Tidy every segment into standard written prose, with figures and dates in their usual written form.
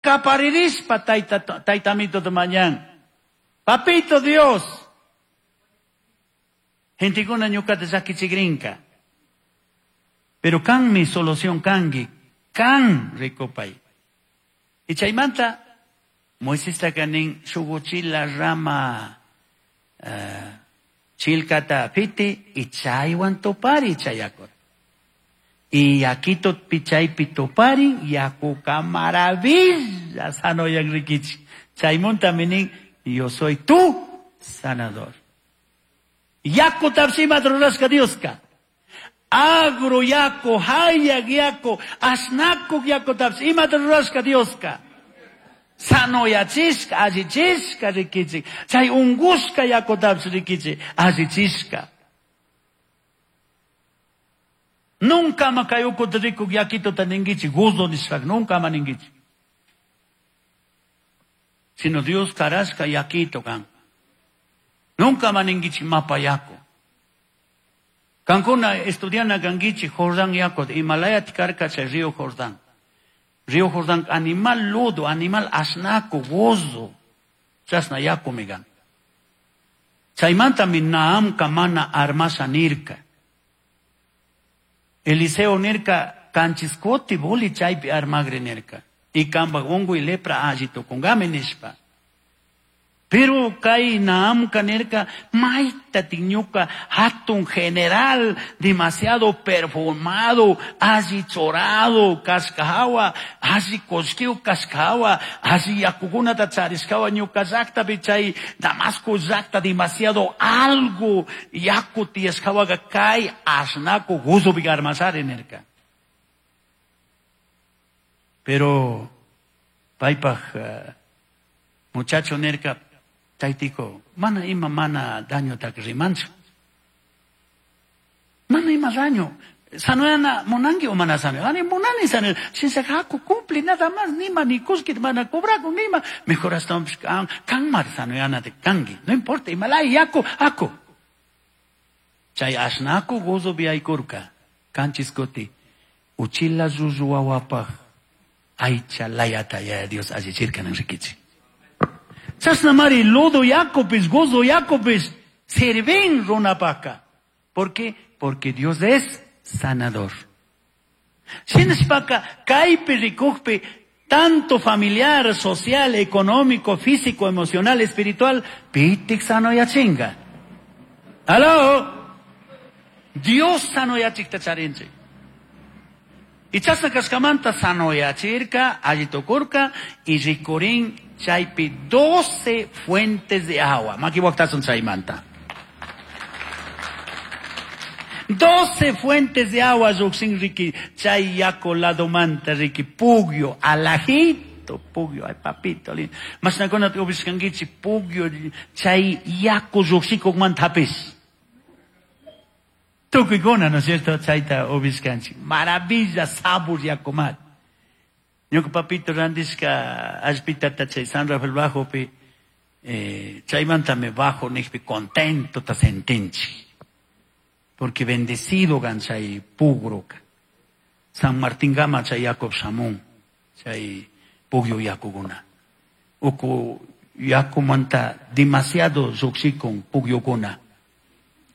Kaparirishpa tayta taytamito mañan. Papito Dios. Gentekuna ñukata llakichikrinka. Pero kanmi solución kanki. Kan rikupay. Y chaymanta Moisestaka nin shuk uchila rama chilkata piti y chaywan tupari chay yakuta. Y yakito chaypi tuparin yakuka maravilla sanoyan rikichik. Chaymuntami nin yo soy tu sanador. Yakutapish imata rurashka Dioska. Agro yaku, hayak yaku, ashnakuk yakutapish imata rurashka Dioska. Sanoyachishka, allichishka rikichik. Chay ungushka yakutapish rikichik, allichishka. Nunca ama kay ukuta rikuk yakituta ninkichik, guzo nishpaka, nunca ama ninkichik. Sino Dios karashka yakito kan. Nunca ama ninkichik mapa yaku. Kankuna estudiana kankichik Jordán yaku, Himalayat karka chay río Jordán. Río Jordán, animal lodo, animal asnaco, gozo. Chasna yaku migan. Chaymantami Naamka mana armasha nirka. Eliseo nirka kanchiskoti boli chaypi armagri nirka. Y kambaj unguy lepra alli tukungami nishpa. Pero kay Naamka nirka mayta ñuka hatun general demasiado perfumado, alli chorado kashkahawa, alli kullkiyu kashkahawa, alli yakukunata charishkawa ñuka llaktapi chay Damasco llakta demasiado algo yaku tiyashkawaka kay asnaku guzupi armashari nirka. Pero paypaj muchacho nirka taytiko, mana ima mana daño tak rimanchu. Mana ima daño. Sanoyana munanki o mana sanoyana. Ani munani sanoyana. Shinsa haku cumple nada más, nima ni kuskit mana cobraku nima. Mejor hasta kan, kan mar sanoyana de kangi. No importa, imalay yaku aku. Chay asnaku gozo biaykurka. Kanchiskoti. Uchila zuzuwawapaj. Aycha layata ya Dios allichirka nan rikichi. Chasna mari lodo yakupis, gozo yakupis, sirven runapaka. ¿Por qué? Porque Dios es sanador. Shinashpaka kaypi rikukpi, tanto familiar, social, económico, físico, emocional, espiritual, pitik sanoyachinga. ¿Aló? Dios sanoyachikta charinchik. Y chasna kashkamanta sanoyachirka, allitukurka, y rikurin chaypi 12 fuentes de agua. Maki waktasun chaymanta. 12 fuentes de agua lluksin riki, chay yaku ladomanta riki, pugyo, alajito, pugyo, ay papito lindo. Mashnakuna ubishkankichik, pugyo, chay yaku llukshikukmanta hapis. Tukuykuna, ¿no es cierto? Chayta ubishkanchik. Maravilla, sabor yakumat. Ñuka papito randishka allpitata chay San Rafael Bajopi, chaymantami bajo nijpi contento ta sentinchik. Porque bendecido gan chay pugruka. San Martín Gama chay Jacob Samún, chay pugyo yakuguna. Uku yakumanta demasiado lluqshikun pugyukuna.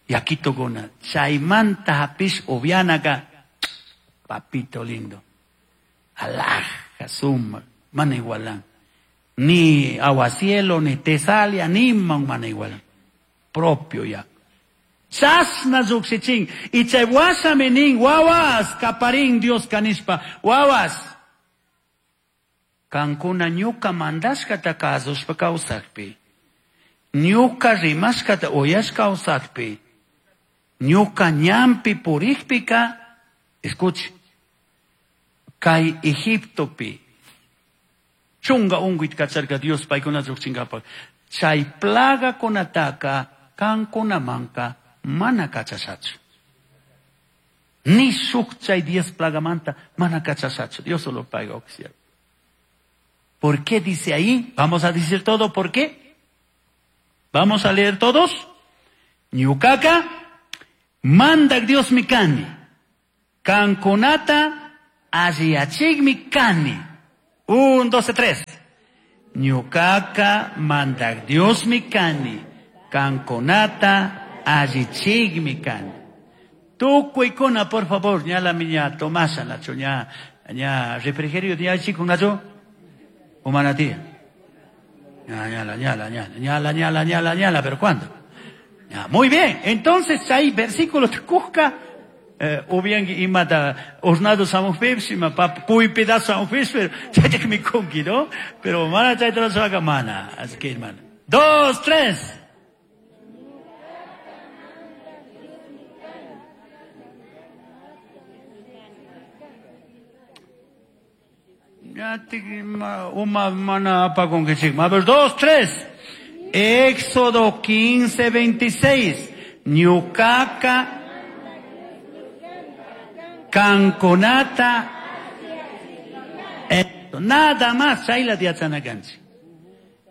Yakitokuna. Chaymanta hapish upianaka, papito lindo. Alhaja, suma, mana igualan. Ni aguacielo, ni tesalia, ni mana igualan. Propio ya. Chasna lluqshichin. Y chay wasami nin, wawas, kaparin Dios kanishpa, wawas. Kankuna ñuka mandashkata kasushpa kawsakpi. Ñuka rimashkata uyashka kawsakpi. Ñuka ñampi purikpika, escuche, kay Egiptopi, chunga unguit kacharka Dios paykuna lluqchinkapak. Chay plaga kunataka kankunamanka mana kachashachu. Ni shuk chay 10 plagamanta mana kachashachu. Dios solo paga oxiar. ¿Por qué dice ahí? Vamos a decir todo, ¿por qué? Vamos a leer todos. Ñukaka, mandak Dios mi kani. Kankunata alliyachikmi kani. Un, dos, tres. Ñucaca mandac Diosmi cani, cancunata allichigmi cani. Tukuykuna, por favor, ñalami ña tomasa nachu, ña, ña refrigerio ña nachu, o manatía. Ña, ñala, ñala, ñala, ñala, ñala, ñala, ñala, pero ¿cuándo? Ya, muy bien, entonces hay versículos cusca, ubiangi imata hornado samujpipis, ima papa cuy pedazo samujpipis, pero chayta mikunki, ¿no? Pero mana chayta rurashaka mana, así que hermano. Dos, tres. Ya te uma mana apagunkichik. A ver, dos, tres. Éxodo 15, 26. Ñucaca canconata. Nada más, chayla yachanakanchik.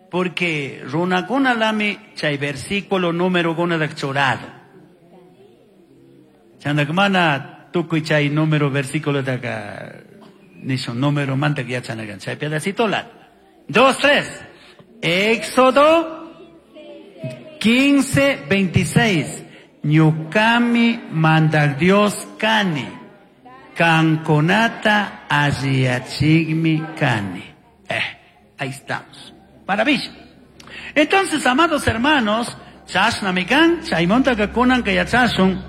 Porque runakuna lami chay versículo número kuna churado. Chandak mana tukuy chay número versículo taka nisho número manta yachanakanchik. Chay pedacito la. Dos, tres. Éxodo 15, 26. Ñukami mandak Dios kani. Canconata alliyachigmi kani. Ahí estamos. Maravilla. Entonces, amados hermanos, chashnamikan, chaymonta kakunan kayachashun.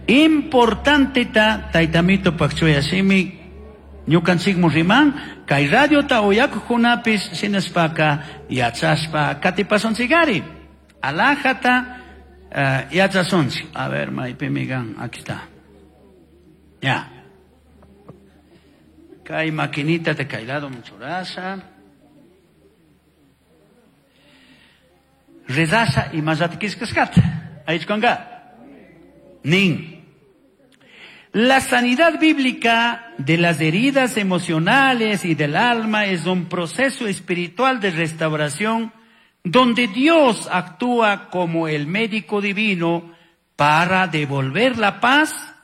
Importante ta taytamito pakchuyashimi ñukanchikmu riman, kay radiota uyakuqkunapis shinashpaka yachashpa katipasunchikari. Alajata yachasunchik. A ver, maypimi kan, aquí está. Ya. Kay maquinita de kay lado muchurasha. Rezasha y mayatikishkashkata. Ayichkonka. Nin. La sanidad bíblica de las heridas emocionales y del alma es un proceso espiritual de restauración donde Dios actúa como el médico divino para devolver la paz,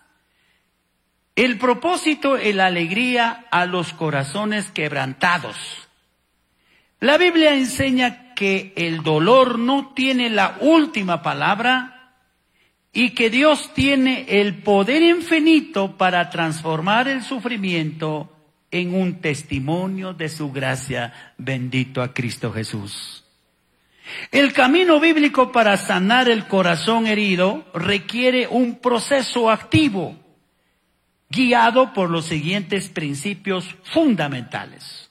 el propósito y la alegría a los corazones quebrantados. La Biblia enseña que el dolor no tiene la última palabra y que Dios tiene el poder infinito para transformar el sufrimiento en un testimonio de su gracia. Bendito a Cristo Jesús. El camino bíblico para sanar el corazón herido requiere un proceso activo, guiado por los siguientes principios fundamentales.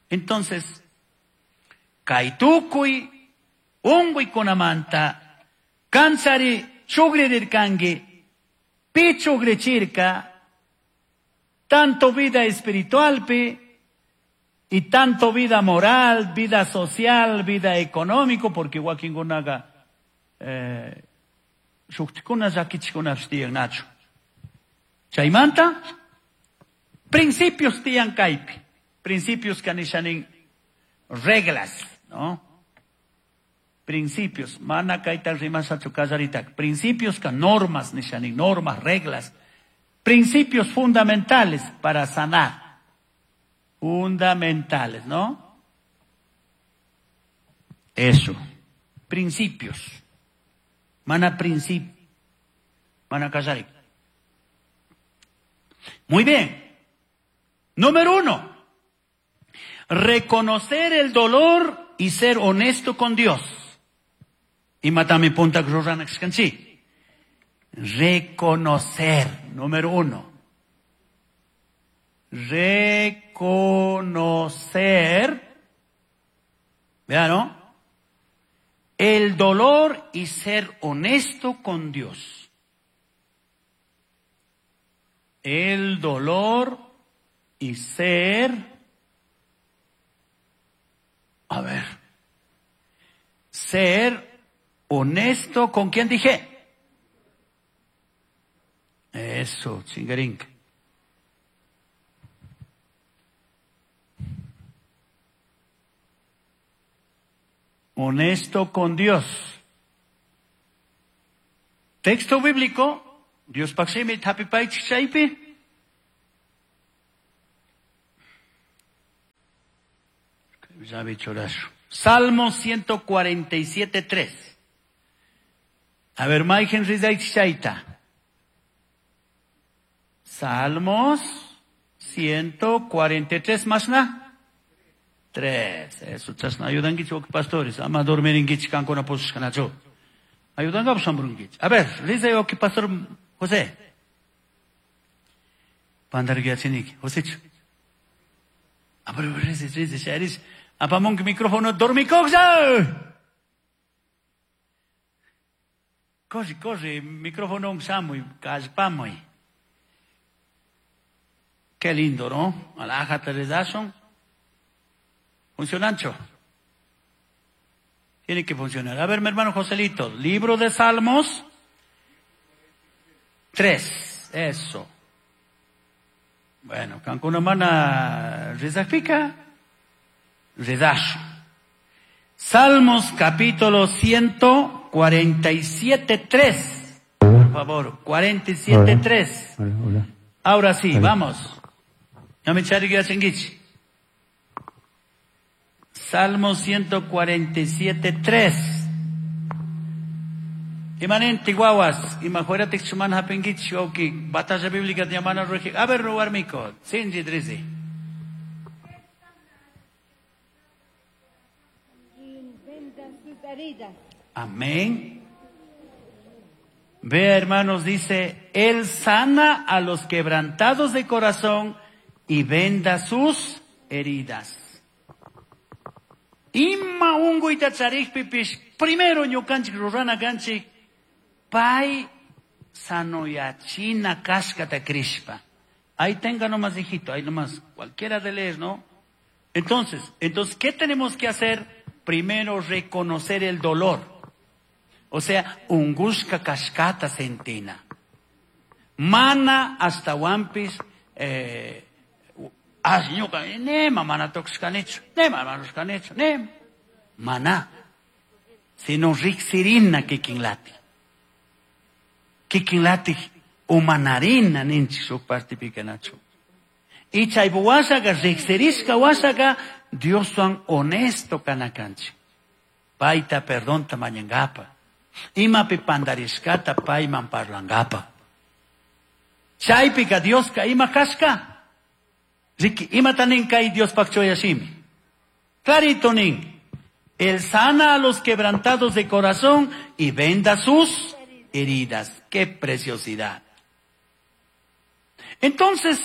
Entonces, kaytukuy unquykunamanta, kanchari chugririrkanki, pi chugrichirka, tanto vida espiritualpi y tanto vida moral, vida social, vida económico, porque wakinkunaqa shuktikuna llakichikunapish tiyan nachu. Chaymanta, principios tiyan kaypi, principios kanishanin reglas, ¿no? Principios, mana kayta rimashachu kallaritak, principios ka normas nishanin, normas, reglas, principios fundamentales para sanar. Fundamentales, ¿no? Eso, principios. Mana principio, mana kallari. Muy bien. Número 1. Reconocer el dolor y ser honesto con Dios. Imatami punta ruranakskanchi. Reconocer, número 1. Reconocer, vean, ¿no? El dolor y ser honesto con Dios. El dolor y ser, a ver, ser honesto con quién dije. Eso, chingarín. Honesto con Dios. Texto bíblico, Dios paximi tapipay chaypi. Llave churashu. Salmo 147, 3. A ver, Maigen Rizaichaita. Salmos 143 más na. 3. Eso, chasna ayudan pastores. Ama dormir en kankuna posishkanachu. Ayudan sambrunkichi. A ver, rizay oki pastor José. Pandargiachiniki. Joséchu. A ver, rizay, rizay, sharish. Apamonki micrófono, dormikoksa. Corre, corre, micrófono shamuy, kallpamuy. Qué lindo, ¿no? Alájate rezason. Funcionancho. Tiene que funcionar. A ver, mi hermano Joselito, libro de Salmos 3. Eso. Bueno, cancuna mana rezafica. Rezazo. Salmos capítulo 147, 3. Por favor, 47, 3. Hola, hola. Ahora sí, Hola. vamos. Salmo 147, 3. Imanente guaguas, imajuera chuman hapingichi, oki, batalla bíblica de Yamana Roji. A ver, robar mico, Sinji Drizi. Y vendan sus heridas. Amén. Vea, hermanos, dice, Él sana a los quebrantados de corazón y venda sus heridas. Ima unguyta charikpipish, primero ñukanchik rurana kanchik, pay sanoyachina kashkata krishpa. Ahí tenga nomás, hijito, ahí nomás, cualquiera de leer, ¿no? Entonces, ¿qué tenemos que hacer? Primero, reconocer el dolor. O sea, ungushka kashkata sentina. Mana hasta wampis, asñuka, nema mana toxkanichu, nema mana nema. Mana. Sino riksirina kikinlati. Kikinlati umanarina ninchi suk partipikanachu. Y chaypu wasaka, riksirishka wasaka, Dioswan honesto kanakanchi. Paita perdonta mañangapa. Imapi pandarishkata payman parlangapa. Chaypika Dioska ima kashka. Riki, imata nin kay Dios pakchoyashimi. Clarito nin. Él sana a los quebrantados de corazón y venda sus heridas. ¡Qué preciosidad! Entonces,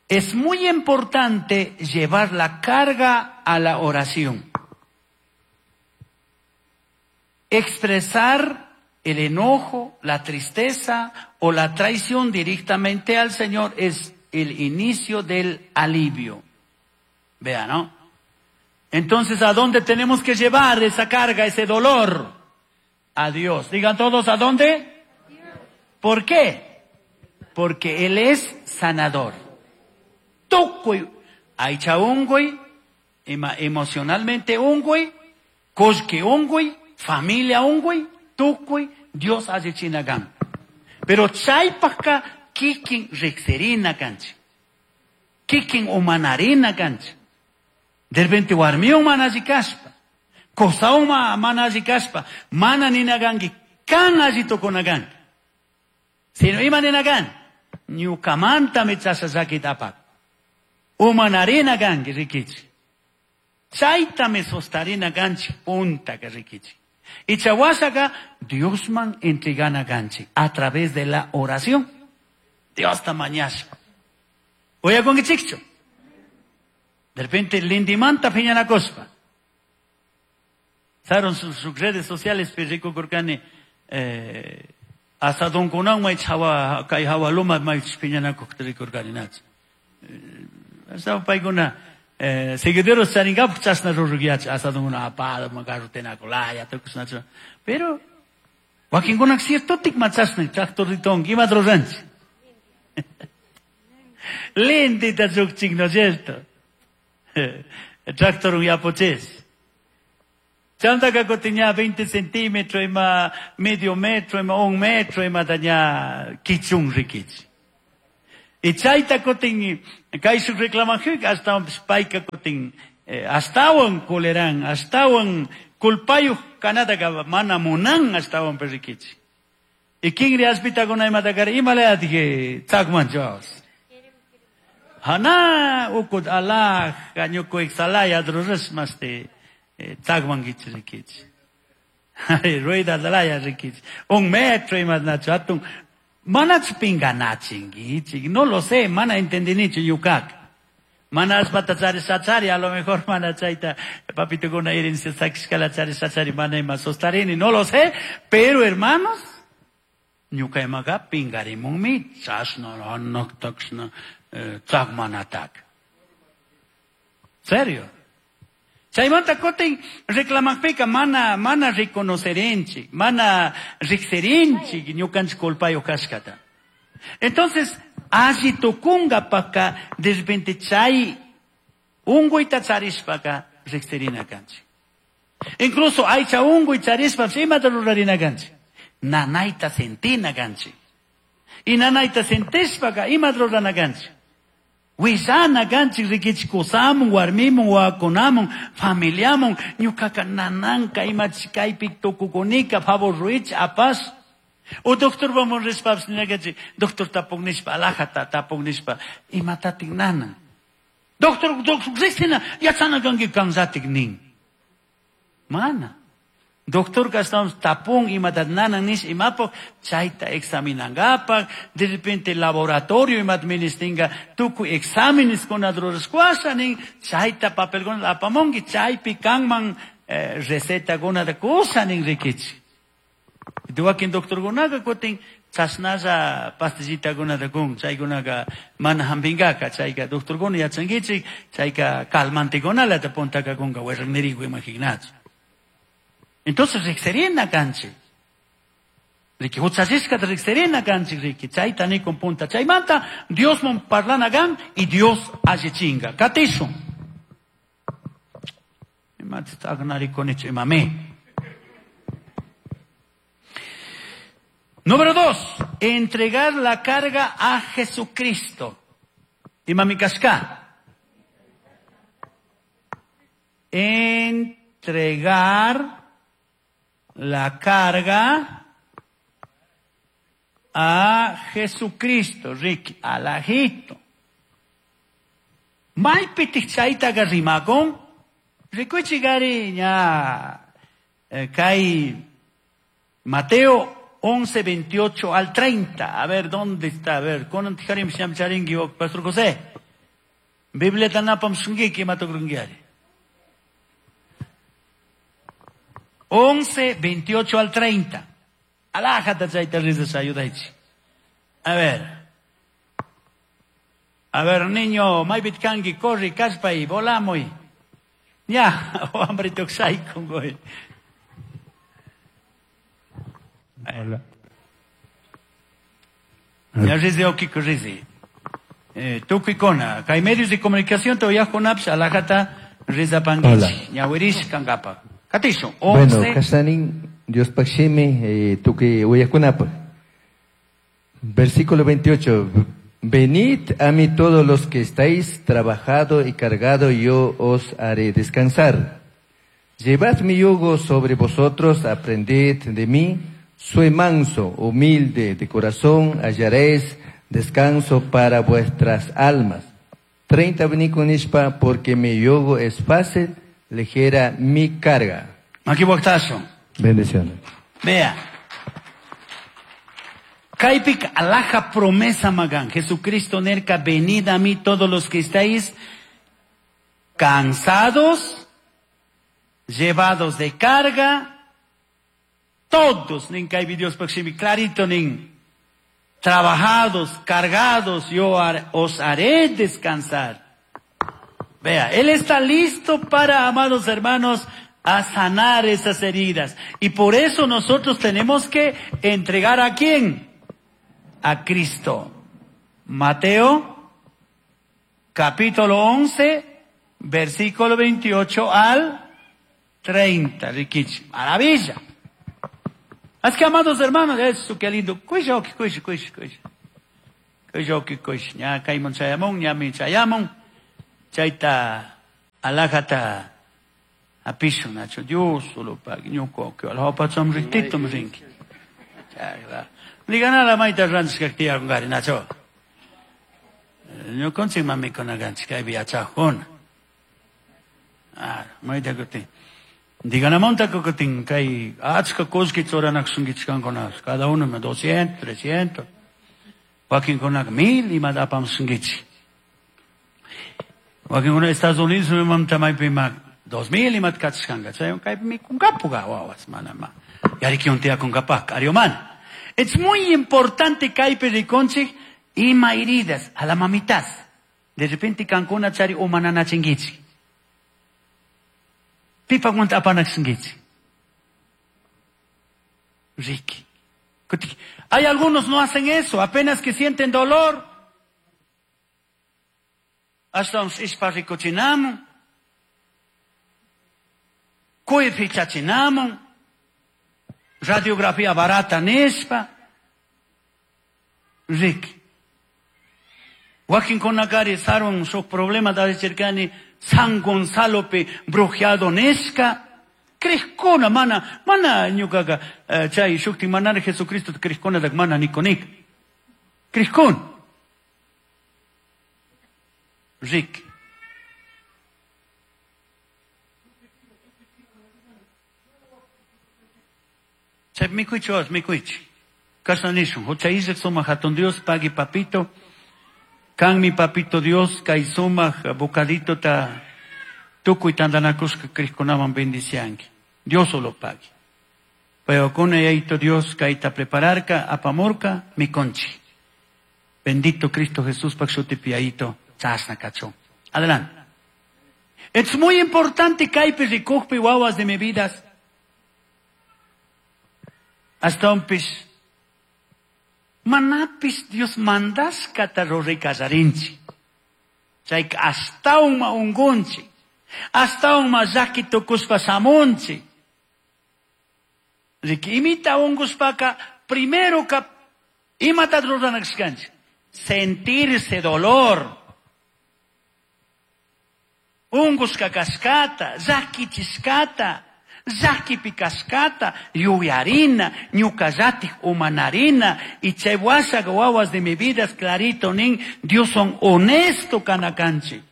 es muy importante llevar la carga a la oración. Expresar el enojo, la tristeza o la traición directamente al Señor es el inicio del alivio. Vea, ¿no? Entonces, ¿a dónde tenemos que llevar esa carga, ese dolor? A Dios. Digan todos, ¿a dónde? ¿Por qué? Porque Él es sanador. Tukuy, aycha unguy, emocionalmente unguy, koshki unguy, familia unguy, tukuy, Dios allichinagan. Pero chaypajka kikin riqsirina kanchik. Kikin umanarina kanchik. De repente warmiwan mana alli kashpa, qosawan mana alli kashpa, mana ninakanki kan alli tukunakanki. Sino ima ninakan, ñukamantami chashallakita apak. Umanarina kanki rikichik. Chaytami sostarina kanchik puntaka rikichik. Y chawasaka Diosman entregana kanchik a través de la oración. Dios ta mañashpa. Uyakunkichikchu. De repente lindimanta piñanakospa. Saron sus redes sociales rikurkani asadonkunawan may hawa kay hawa luma may piñanakukta rikurkani nach. Asa paykuna seguidores charingapaq chashna rurukyachi asadonkuna apado makarrutenakulaya tukushnachu. Pero wakinkuna ciertotik ma chashna tractorriton imata ruranchik. Lindita chukchik, ¿no es cierto? Tractor yapuchis. Chantaka kutin 20 centímetros, ima medio metro, ima un metro, ima daña kichun rikichi. Y chayta kutin, kayshuk reclamajuk, hasta payka kutin, Ashtawan kuleran, ashtawan kulpayuq kanataqa mana munan ashtawan perrikichi. Y kinri allpitakuna imatakari imalayatiki tzakmanchawas. Hana ukut alaj ñuku iksalaya rurash masti tzakmankichi rikichi. Rueda dalaya rikichi. Un metro imatnachu hatun manachu pinganachinkichik, no lo sé, mana entendinichu ñukaka. Mana allpata charisachari, a lo mejor mana chayta papitukuna herencia sakishkala charisachari mana ima sostarini, no lo sé, pero hermanos, ñuka imaka pingarimunmi chashna hanaktakshna tzakmanatak. Serio. Chaymanta kutin reclamaqpiqa mana mana reconocerinchik, mana riqsirinchik ñukanchik culpayuq kashkata. Entonces, alli tukunkapaqqa de repente chay unquyta charishpaqa riqsirina kanchik. Incluso aycha unquy charishpapish imata rurarina kanchik. Nanayta sentina kanchik. Y nanayta sentishpaqa imata rurana kanchik. Willana kanchik rikichik kusamun, warmimun, wawakunamun, familiamun, ñukaka nananka imachi kaypi tukukunika, favor ruich, apash. O doctor vamos rishpapish ninakanchik, doctor tapuk nishpa, alajata tapuk nishpa, imatatik nanan. Doctor, doctor, riqsina, yachana kanki kanllatik nin. Mana. Doctor estamos tapun imatat nanan nish imapaq chayta examinangapak, de repente laboratorio imat ministinga tukuy exámenes kunata rurashkuasha nin chayta papelkunata apamunki chaypi kanman recetakunata kusha nin rikichik. Wakin doctorkunaka kutin chashnalla pastillitakunata kun, chaykunaka mana hampinkaka, chayka doctorkuna yachankichik, chayka calmantekunalata puntaka kunka wirrakniriku imaginachu. Entonces riqsirina kanchik. Riki huchallishkata riqsirina kanchik riki, chayta nikun punta. Chaymanta Diosman parlana kan y Dios allichinga. Katishun. Imata aqnarikunichu imami. Número 2, entregar la carga a Jesucristo. Imami kashka. Entregar la carga a Jesucristo, Ricky, alajito. Maypitik chaytaqa rimakun, rikuchi gari ña kay Mateo 11, 28 al 30. A ver, ¿dónde está? A ver, kunan tijarim sham charinki, Pastor José. Biblia tanapam shungiki matokrungiari. 11, 28 al 30. Alájate, chayta risas, ayudaichi. A ver. A ver, niño, maybit kanki, corri, kallpa y volamuy. Ya, hambre toxai con goy. Hola. Ya rizi okiko rizi. Tukuykuna, kay medios de comunicación todavía kunapish alajata rizapankichik. Ñawirish kankapak. Katishun, 11. Bueno, kashanin Diospaq shimi, tukuy uyakunapaq. Versículo 28. Venid a mí todos los que estáis trabajado y cargado, yo os haré descansar. Llevad mi yugo sobre vosotros, aprended de mí. Soy manso, humilde de corazón, hallaréis descanso para vuestras almas. 30 venid con ishpa, porque mi yugo es fácil, ligera mi carga. Aquí voy. Bendiciones. Vea. Kaypik alaja promesa magan. Jesucristo nerka, venid a mí todos los que estáis cansados, llevados de carga, todos, nin kaypi Dios shimi, clarito nin, trabajados, cargados, yo os haré descansar. Vea, Él está listo para, amados hermanos, a sanar esas heridas. Y por eso nosotros tenemos que entregar ¿a quién? A Cristo. Mateo, capítulo 11, versículo 28 al 30. Rikichi. Maravilla. Así que, amados hermanos, eso qué lindo. Cuixa, cuixa, cuixa, cuixa. Cuixa, cuixa. Ña kayman chayamon, ña mi chayamon. Chayta. Alajata apishun, nacho Dios solo pagui, ñuka alhapacham riktitum rinki. Liganala mayta ranchishka tiyakungari, nacho. Ñukanchik mamikunakanchik kaypi yachajuna. Mayta kutin. Diganamonta kutin kay achka kullki churanakshunkichik kankuna, cada uno 200, 300. Wakinkunaka 1000 imata apamushunkichik. Wakinkuna Estados Unidos mamta maypi ma 2000 imata kachishkanka. Chay kaypi mikunkapuka wawas mana ma. Yarikiun tiyakunkapak, ariomana. Es muy importante kaypi rikunchik ima heridas a la mamitas. De repente kankuna chari umananachinkichik. Pipakunta apanaksinkichik. Ricky. Hay algunos no hacen eso, apenas que sienten dolor. Hasta un ispa ricuchinamun. Cuy fichachinamun. Radiografía barata nispa. Ricky. Wakin kunakari sarun shuk problema da chirkani San Gonzalo pe brujeado nisca. Crejkuna mana, mana ñukaga chay shukti manara Jesucristo crejkuna dak mana nikonik. Crejkun. Rick. Chay mikuichi os mikuichi. Kasna nishun, hucha isek suma hatun Dios pagui papito. Kan mi papito Dios kay sumaj bocadito ta tukuy tandanakushka krejkunaman bendicianki. Dios solo pague. Pero con yaito Dios kaita prepararka apamurka mi conchi. Bendito Cristo Jesús pakshutipi yaito chasna kachon. Adelante. Es muy importante kaypi rikujpi wawas de mi vidas. Hasta un pis. Manapis Dios mandashkata ruray kallarinchik. Chayka ashtawan ungunchik. Ashtawan llaki tukushpa shamunchik. Riki imita ungushpaka primero ka imata ruranakashkanchik. Sentirse dolor. Ungushka kashkata, llakichishkata, llakipi kashkata, yuyarina, ñukallatik umanarina, y chay washaka wawas de mi vida es clarito nin, Dios son honesto kanakanchik.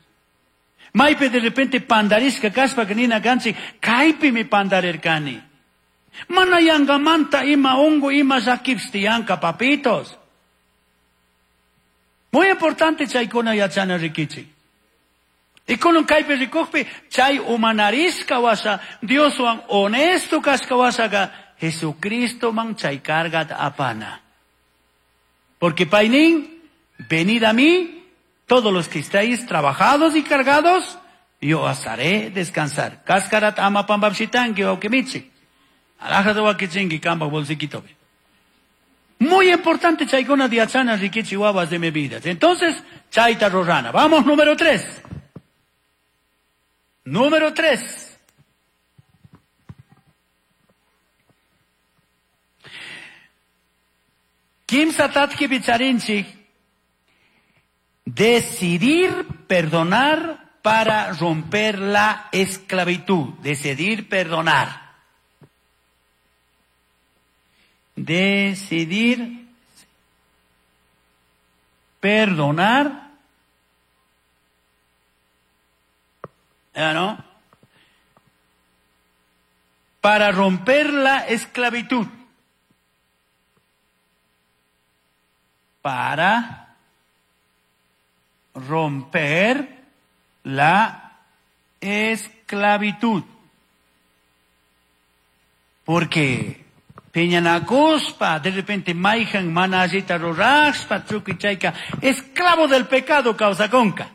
Maypi de repente pandarishka kashpa nina kanchik, kaypi mi pandarirkani. Mana yangamanta ima ungu ima llakipis tiyanka papitos. Muy importante chaykuna yachana rikichik. Y con un kaypi rikujpi, chay umanarishka washa, Dioswan honesto kashka washaka, Jesucristo man chay cargat apana. Porque paynin, venid a mí, todos los que estáis trabajados y cargados, yo os haré descansar. Kaskarat ama pambapshitanki o kemichi. Alajado wakichinki kamba bolsiquito. Muy importante chaykuna diachana rikichi wawas de mi vida. Entonces, chayta rorana. Vamos, número 3. Número 3. Kimsa tatki bicharinchik. Decidir perdonar para romper la esclavitud. Decidir perdonar. Decidir perdonar. ¿No? Para romper la esclavitud. Para romper la esclavitud. Porque piñanacuspa, de repente maijan manallita ruraxpa, chuquichayca, esclavo del pecado causa conca.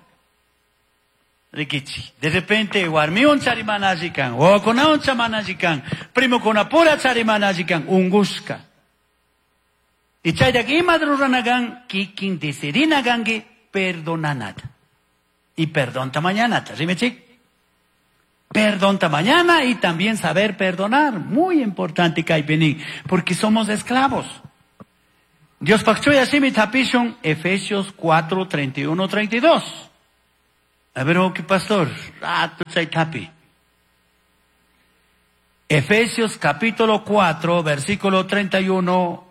Rikichi. De repente, warmiun charimanajikan, wawakunawan chamanajikan, primo kunapura charimanajikan, ungushka. Y chaytak ima ruranagan, kikin decidinaganki, perdonanata. Y perdonta mañanata, ¿sí? Perdonta mañana y también saber perdonar. Muy importante, Kaipini, porque somos esclavos. Dios pakchuya shimi tapishun, Efesios 4, 31, 32. A ver, ok, pastor, rato chay Efesios capítulo 4, versículo 31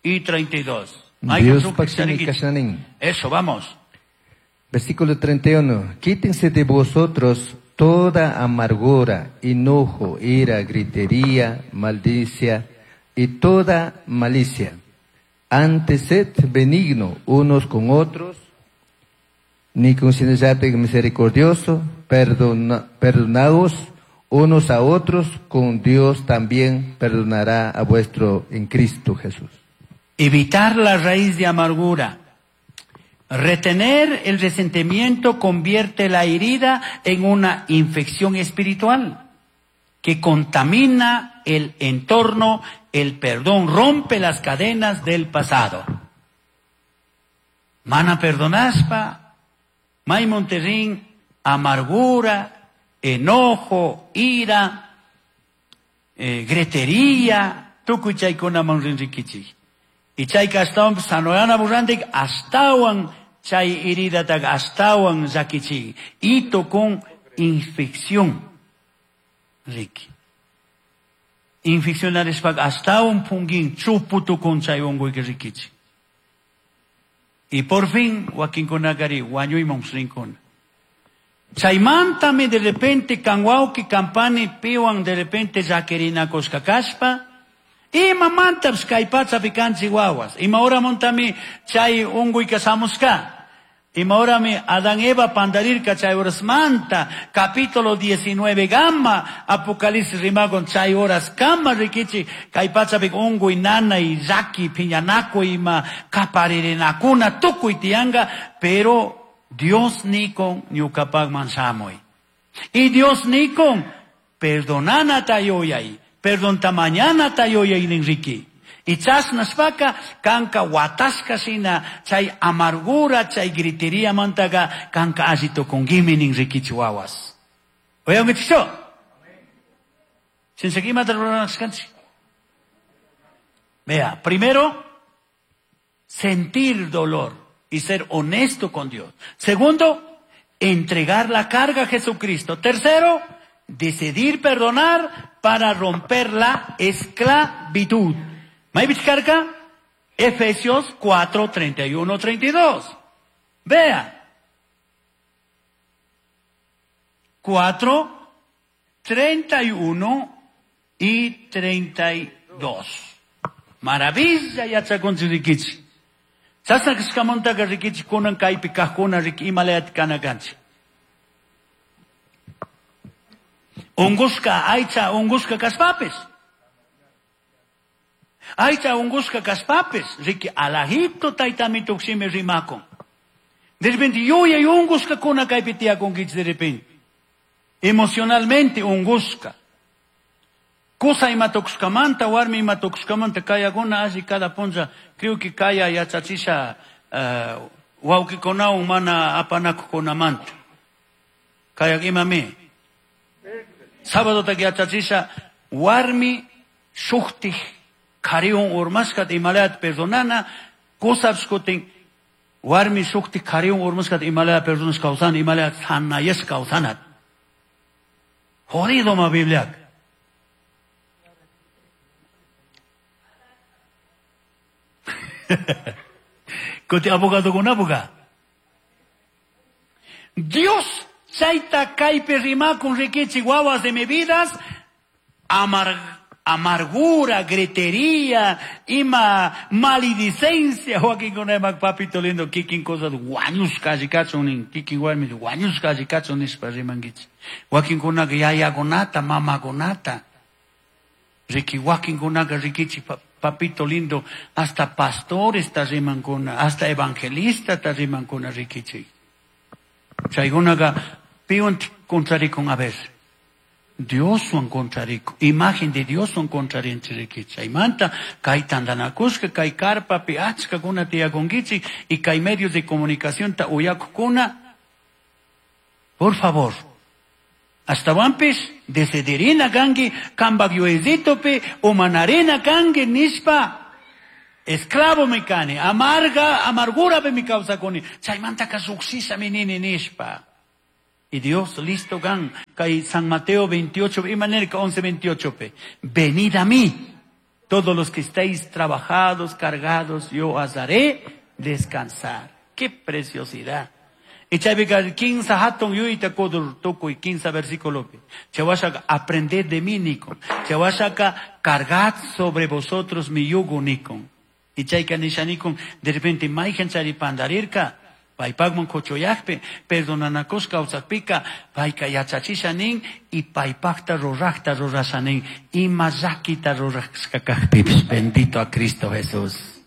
y 32. Dios kashanin. Eso, vamos. Versículo 31. Quítense de vosotros toda amargura, enojo, ira, gritería, maldicia y toda malicia. Antes sed benigno unos con otros, ni considerate misericordioso, perdonaos unos a otros, con Dios también perdonará a vuestro en Cristo Jesús. Evitar la raíz de amargura. Retener el resentimiento convierte la herida en una infección espiritual que contamina el entorno. El perdón rompe las cadenas del pasado. Mana perdonaspa, may monterrín, amargura, enojo, ira, gretería, tukuy chaykunaman rinrikichik. Y chayka ashtawanpis sanoyana burrantik ashtawan chay heridataqa ashtawan llakichik. Ito con infección. Riki. Infeccionarishpaka ashtawan punkin chupu tukun chay unquyka rikichik. Y por fin wakinkunakari wañuyman rinkuna. Chaymantami de repente kanwawki kampani piwan de repente llakirinakushka kashpa, ima mantapis kay pachapi kanchik wawas. Ima horamuntami chay unquyka shamushka. Ima horami Adán Eva pandarirka chay horasmanta, capítulo 19 gama, Apocalipsis rimakun chay horas kama rikichi, kay pachapi unquy nanay llaki piñanakuy ima kaparirinakuna tukuy tiyanka, pero Dios nikon ñukapakman shamuy. Y Dios nikon perdonanata yuyay, perdonta mañanata yuyay ninriki. Y chashnashpaka kanka watashka shina chay amargura, chay gritería mantaga kanka alli tukunkimi ninrikichi wawas. Uyankichikchu? Shinshaki imata ruranashkanchik. Vea, primero, sentir dolor y ser honesto con Dios. Segundo, entregar la carga a Jesucristo. Tercero, decidir perdonar para romper la esclavitud. ¿Maybich carga? Efesios 4, 31, 32. Vea. 4, 31 y 32. Maravilla yachakunchirikichi. Chasna kashkamantaka rikichi kunan kaypi kajkuna riki imalayati kana kanchik. Unqushka aycha unqushka kashpapis. Aycha unqushka kashpapis riki alajito taytami tuksimi rimakun. De repente yuyay unqushkakuna kaypi tiyakunkichik de repente. Emocionalmente unqushka. Kusa ima tukushkamanta, warmi ima tukushkamanta kayakuna alli cada punlla, creo que kaya yachachisha wawkikunawan mana apanakuqkunamanta. Kayak imami. Sábado yachachisha warmi shuktik qhariwan urmashkata imalayata perdonana, kusapis kutin warmi shuktik qhariwan urmashkata imalaya perdonashka kawsana, imalaya sanayashka kawsanat. Jodido ma Bibliaka. Kuti abogado kunapuka. Dios chayta kaypi rimakun rikichi wawas de mi vidas, amargura, gritería, ima maledicencia, wakinkuna imak papito lindo kikin cosas wañushka allikachun nin, kikin warmi wañushka allikachun nishpa rimankichik. Wakinkunaka yayakunata, mamakunata, riki wakinkunaka rikichi papito lindo, hasta pastores ta rimankuna, hasta evangelista ta rimankuna rikichi. Chaykunaka piwan contrarikun a ver. Dioswan contrarico, imagen de Dioswan contrarinchik rikichi. Chaymanta kay tantanakushka, kay karpapi achkakuna tiyakunkichik y kay medios de comunicación ta uyakukuna. Por favor, Ashtawanpish decidirina kanki kanpak yuyayllitupi umanarina kanki nishpa esclavo mi kani, amarga, amargurapi mi kawsakuni, chaymantaka lluqshishami nini nishpa. Y Dios listo gan. Kay San Mateo 28, imanerka 11, 28 pe. Venid a mí, todos los que estáis trabajados, cargados, yo os haré descansar. ¡Qué preciosidad! Y chaypiqa 15 hatun yuyta kudur tukuy 15 versículo. Chawashaka aprended de mí nikun. Chawashaka cargad sobre vosotros mi yugo nikun. Y chayka nisha nikun de repente mayhan chari pandarirka. Paypaqman kuchuyaqpi perdonanakush kawsaqpika payka yachachisha nin y paypaqta ruraqta rurasha nin ima llakita rurashka kaqpipis. Bendito a Cristo Jesús.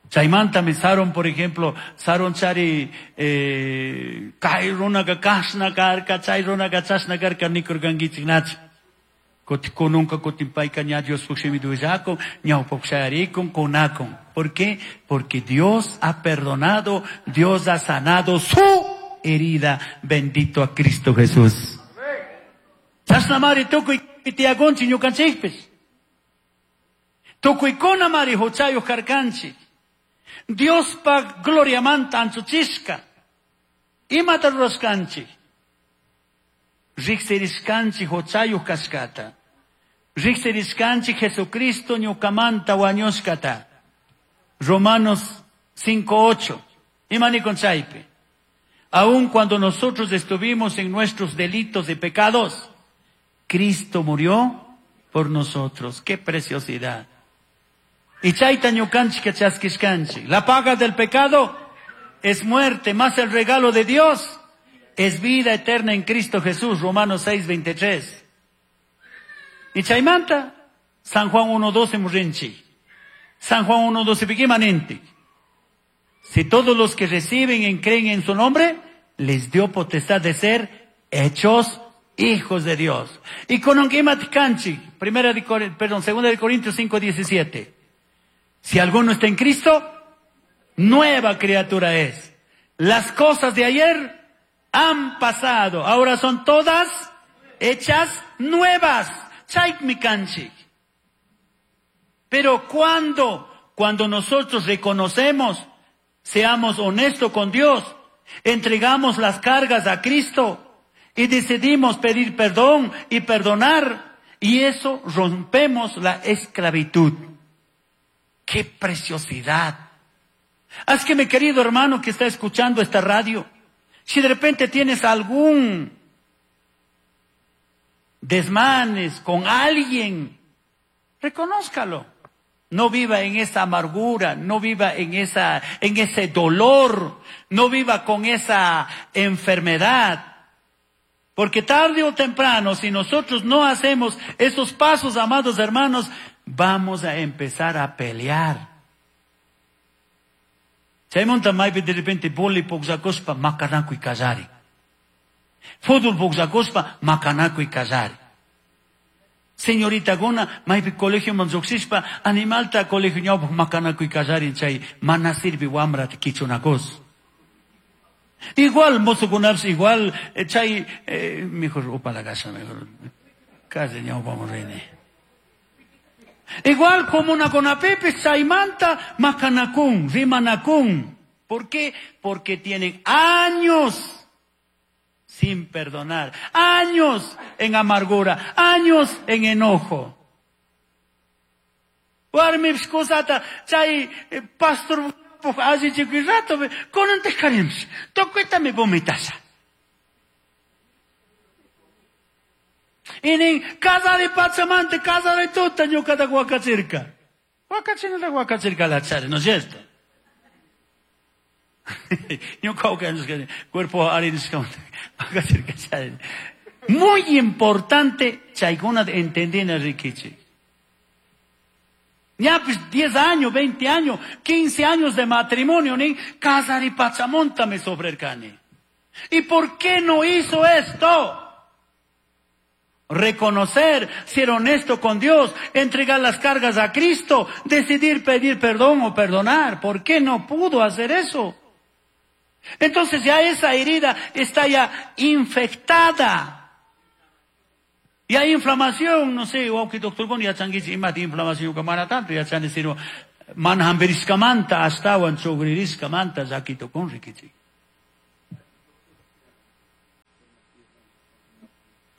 Chaymantami Saron, por ejemplo, Saron chari kay runaka kashna karka, chay runaka chashna karka nikurkankichik nachu. Kununka kutin payka ña Dios shimi duillakun, ñawpaq shayarikun, kunakun. ¿Por qué? Porque Dios ha perdonado, Dios ha sanado su herida. Bendito a Cristo Jesús. Chashna mari tukuy tiyakunchik ñukanchikpis. Tukuykuna mari huchayuq karkanchik. Diospa gloriamanta anchuchishka. Imata rurashkanchik. Riqsirishkanchik huchayuq kashkata. Riqsirishkanchik Jesucristo ñukamanta wañushkata. Romanos 5:8. Ima nikun chaypi. Aun cuando nosotros estuvimos en nuestros delitos y pecados, Cristo murió por nosotros. ¡Qué preciosidad! Y chayta ñukanchik chaskishkanchik. La paga del pecado es muerte, más el regalo de Dios es vida eterna en Cristo Jesús. Romanos 6:23. Y chaymanta, San Juan 1:12 murrinchik. San Juan 1:12 piquimanente. Si todos los que reciben y creen en su nombre, les dio potestad de ser hechos hijos de Dios. Y con un canchi, segunda de Corintios 5:17. Si alguno está en Cristo, nueva criatura es. Las cosas de ayer han pasado, ahora son todas hechas nuevas. Chaymi kanchik. Pero ¿cuándo? Cuando nosotros reconocemos, seamos honestos con Dios, entregamos las cargas a Cristo y decidimos pedir perdón y perdonar, y eso rompemos la esclavitud. ¡Qué preciosidad! Haz que mi querido hermano que está escuchando esta radio, si de repente tienes algún desmanes con alguien, reconózcalo. No viva en esa amargura, no viva en ese dolor, no viva con esa enfermedad. Porque tarde o temprano, si nosotros no hacemos esos pasos, amados hermanos, vamos a empezar a pelear. Chaymunta maypi de repente boli pugllakuspa makanakuy kallari. Fútbol pugllakuspa makanakuy kallari. Señorita guna, maypi colegio man lluqshishpa, animalta colegio ñawpaq makanakuy kallarin chay mana sirvi wamrata kichunakus. Igual mozokunapis igual chay mejor upalakasha mejor calle ñawpaman rini. Igual como una conapipis chaymanta makanakun, rimanakun. ¿Por qué? Porque tienen años sin perdonar, años en amargura, años en enojo. Warmipis kusata chay pastor allichikuy rato kunantaj tukuytami vomitasha. Y nin casari pachamante, casari tuta ñuqata wakachirka. Wakachinata wakachirka lachari, ¿no es cierto? Ñuqa cuerpo wakachirka chari. Muy importante chaykuna entendina rikichik. Ya pues 10 años, 20 años, 15 años de matrimonio, nin casari pachamonta me sobrerkani. ¿Y por qué no hizo esto? Reconocer, ser honesto con Dios, entregar las cargas a Cristo, decidir pedir perdón o perdonar. ¿Por qué no pudo hacer eso? Entonces ya esa herida está ya infectada. Y hay inflamación, no sé, o que doctor con ya changuichi imati inflamación que mana tanto ya chan sino man hamberiskamanta hasta wan chogririskamanta zakito con rikichi.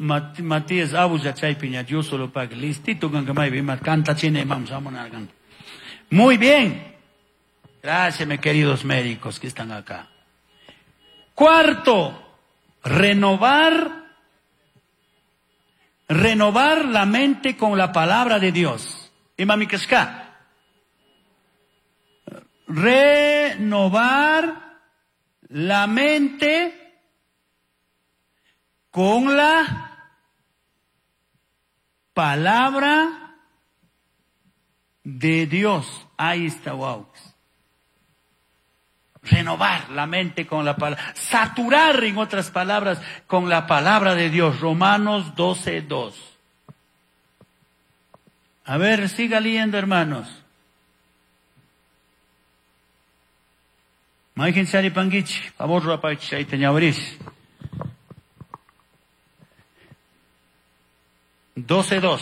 Matías Abuja chaypiña Dios solo paga. Listito kanka maypi ima kantachina imam shamunarkan. Muy bien. Gracias, mis queridos médicos que están acá. Cuarto, renovar la mente con la palabra de Dios. Imami kashka. Renovar la mente con la palabra de Dios. Ahí está, wow. Renovar la mente con la palabra. Saturar, en otras palabras, con la palabra de Dios. Romanos 12:2. A ver, siga leyendo, hermanos. Maikin sari pangichi, favor ruapachi ahí teñabris. 12:2.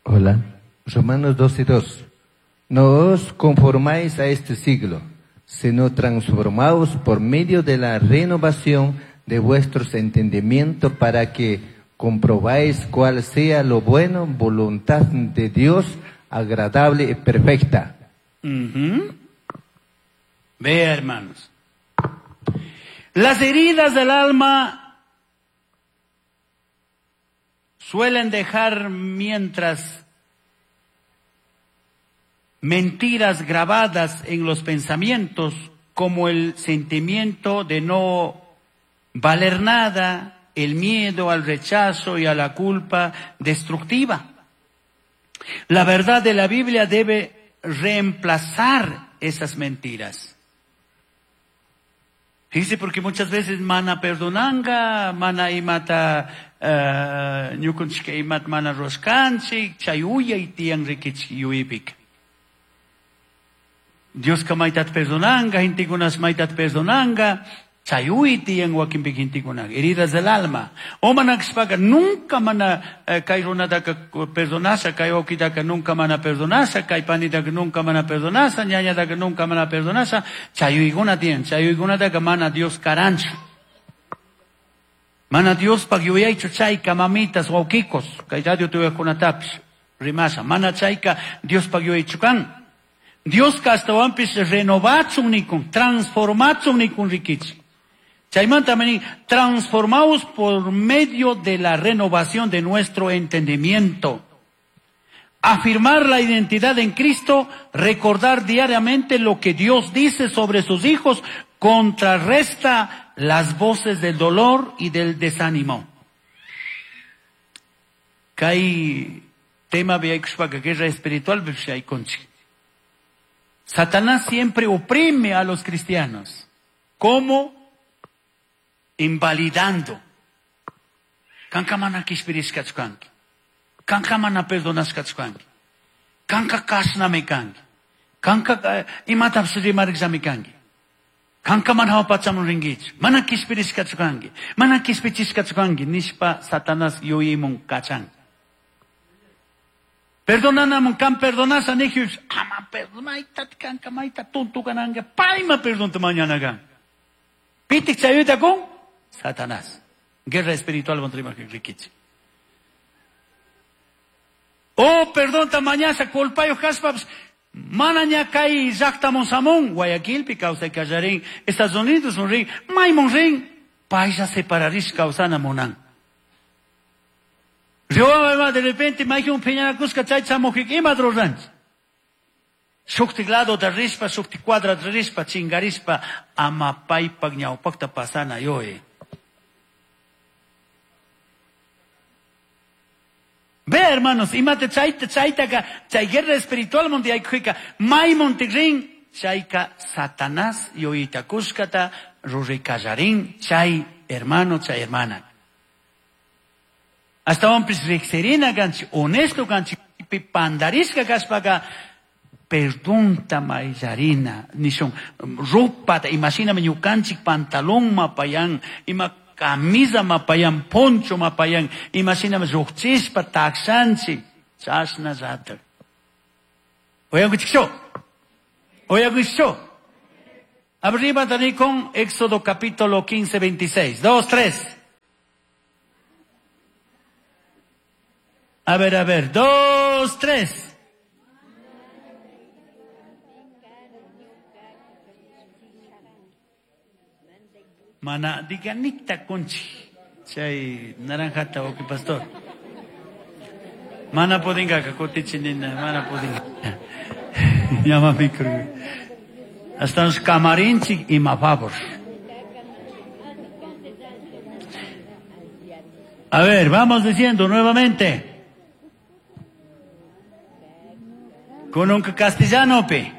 Hola, Romanos 12:2. No os conformáis a este siglo, sino transformaos por medio de la renovación de vuestros entendimientos para que comprobáis cuál sea lo bueno, voluntad de Dios, agradable y perfecta. Uh-huh. Vea, hermanos. Las heridas del alma suelen dejar mientras mentiras grabadas en los pensamientos, como el sentimiento de no valer nada, el miedo al rechazo y a la culpa destructiva. La verdad de la Biblia debe reemplazar esas mentiras. Fíjese, porque muchas veces mana perdonanga, mana imata ñukunchika imat mana roskanchik, chay uyay tiyan rikichik yuypik. Dios ka maytat perdonanga, hintikunas maytat perdonanga, chay uy tiyan wakinpik hintikuna, heridas del alma. O manakshpaka nunca mana kay runataka perdonasha, kay wawkitaka nunca mana perdonasha, kay panitaka nunca mana perdonasha, ñañataka nunca mana perdonasha, chay uykuna tiyan, chay uykunataka mana Dios karanchu. Mana Dios pak yuyaychu chayka mamitas wawkikos, kay radio tuyajkunatapish rimasha, mana chayka Dios pak yuyaychu kan. Dios kastawanpis renovachun nikun, transformachun nikun rikichi. Chaymanta también transformaos por medio de la renovación de nuestro entendimiento. Afirmar la identidad en Cristo, recordar diariamente lo que Dios dice sobre sus hijos, contrarresta las voces del dolor y del desánimo. Kay tema guerra espiritual. Satanás siempre oprime a los cristianos. ¿Cómo? Invalidando. Kanka mana kishpirishkachkanki. Kanka mana perdonashkachkanki. Kanka kashnami kanki. Kanka imatapis rimarikllami kanki. Kanka mana hawapachaman rinkichu. Mana kishpirishkachkanki. Mana kishpichishkachkanki nishpa Satanás yuyimun kachan. Perdonanamun kan perdonasha nijiush. Ama perdonayta kanka mayta tonto kananga. Payma perdonta mañana kan. Pitik chayuta con Satanás. Guerra espiritual contra rikichi. Oh, perdón, mañana culpayo haspaps. Mana kay llaqtamun samun, Guayaquilpi kawsay kallarin, Estados Unidos un rin, maymun rin, paylla separarish kawsana munan. Rioma de repente mayjun phiñanakusqa chay chamuqik ima ruranchik. Shuktik lado da rishpa, shuktik cuadra da rishpa, chingarishpa, ama paypak ñawpaqta pasana yoe. Ve, hermanos, imate chayta chaytaka, chay guerra espiritual monte aykuika, may montigrin, chayka Satanás yoyitakushkata rurikallarin, chay hermano, chay hermana. Hasta hombres riqsirina kanchik, honesto kanchik, pandarishka kashpaka, perdonta mayllarina, nishun, ropata, imagíname ñukanchik pantalón mapayan, ima camisa mapayan, poncho mapayan, imagíname lluqchispa takshanchik, chashna llatak. Oyankuchikchu, oyankuchikchu. Arriba con Éxodo capítulo 15, 26. 2, 3. A ver, 2, 3. Mana, diga nicta conchi. Chay naranjata, ok, pastor. Mana podinga kakutichinina, mana podinga. Llama micro. Hasta los camarinchi y mafavor. A ver, vamos diciendo nuevamente. Con un castellano, pe.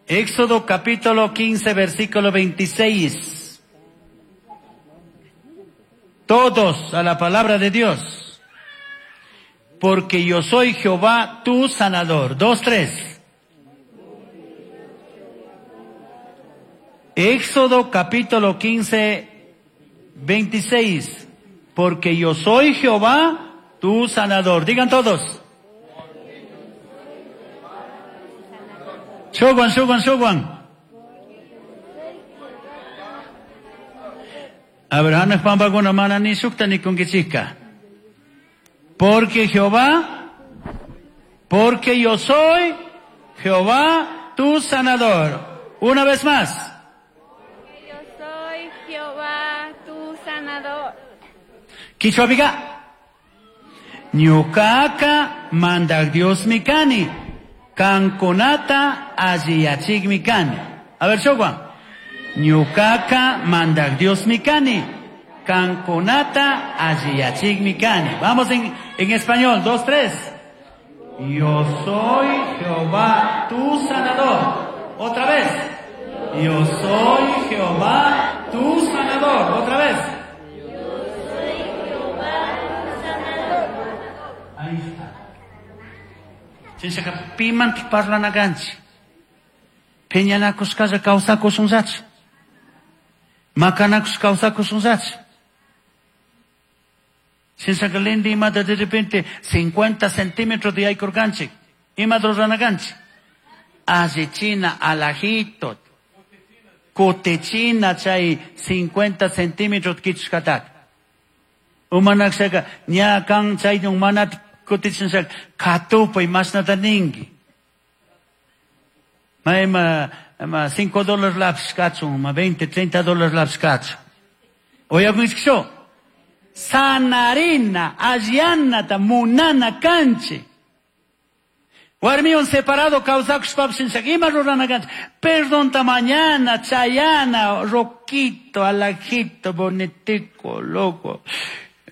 Éxodo capítulo 15, versículo 26. Todos a la palabra de Dios. Porque yo soy Jehová, tu sanador. 2, 3. Éxodo capítulo 15, 26. Porque yo soy Jehová, tu sanador. Digan todos. Shoguan, shoguan, shoguan. Abraham pampakuna mana ni sukta ni kunkichika. Porque Jehová, porque yo soy Jehová, tu sanador. Una vez más. Porque yo soy Jehová, tu sanador. Quichua Ñucaca mandak Dios mi cani. Kankunata alliyachik mi cani. A ver, Shoguan. Ñucaca mandak Dios mi cani. Kankunata alliyachik mi cani. Vamos en español. 2, 3. Yo soy Jehová, tu sanador. Otra vez. Yo soy Jehová, tu sanador. Otra vez. Yo soy Jehová, tu sanador. Ahí está. Chinshaka pimanti parlanaganchi. Peñanakushkalla kawsakushunllachu. Makanakush kawsakushunllachu. Chinshaka lindi imata de repente 50 centímetros de aykurkanchik. Imata ruranakanchik. Allichina alajito. Kutichina chay 50 centímetros kichushkataka. Umanakshaka ña kan chay umanata kutichinshaka katupay mashnata ninki. Ma $5 lapis kachun, ma 20, $30 lapis kachun. Oyakunchikcho. Sanarina, allanata, munana kanchi. Warmiwan separado kawsakushpapis ima rurana kanchi. Perdonta mañana, chayana, roquito, alajito, bonitico, loco.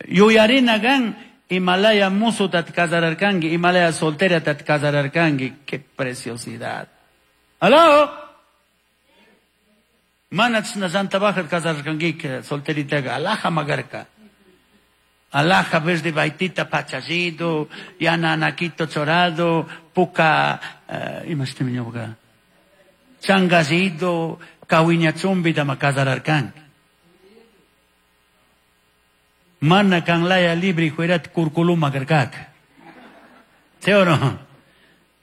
Yuyarina gan, Himalaya musu tat casararkanki, Himalaya soltera tat casararkanki. Qué preciosidad. ¿Aló? Manach na santa baja casararkanki, solterita, alaja magarka. Alaja verde baitita pachallito, yana anaquito chorado, puca, imastimiñoga. Changallito, kawiña chumbita ma casararkanki. Mana kanlaya libre juerat curculuma karkak. ¿Sí o no?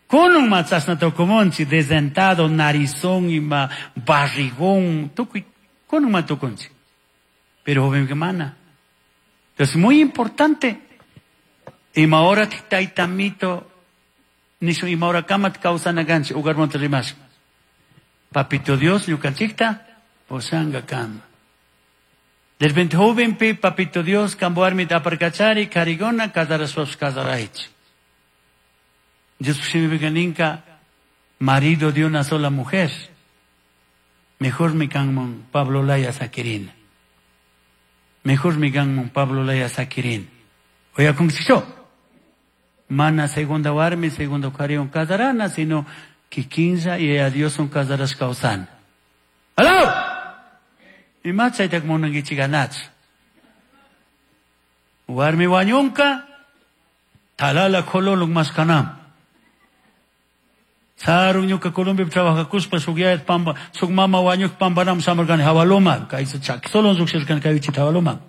Kunun matzasna tokumonchi, desdentado, narizón y ma barrigón, tukuy, kunun matukunchi. Pero joven que mana. Entonces, muy importante. Ima hora taitamito, nishu ima hora kamat kausanaganchi, ugar monte rimas. Papito Dios, ñukanchikta, posanga kama. De repente joven pi, papito Dios, camboarmi aparcachari, carigona, casaraswas casaraich. Dios ninka, marido de una sola mujer. Mejor mi canmon Pablo Laya Saquirina. Mejor mi canmon Pablo Laya Saquirin. Oiga, ¿cómo se hizo? Mana segunda warmi, segundo carión casarana, sino que quinza y a Dios son casaras causan. ¡Aló! Y machaytak munankichikanach. Warmi wañunka, talala kololuk maskanam. Sarun ñuka Colombia trabajakuspa suk yayat pamba, suk mama wañuk pambanam samarkani hawaloma, kaysa chaki solon suk shirkani kaywichita hawaloma.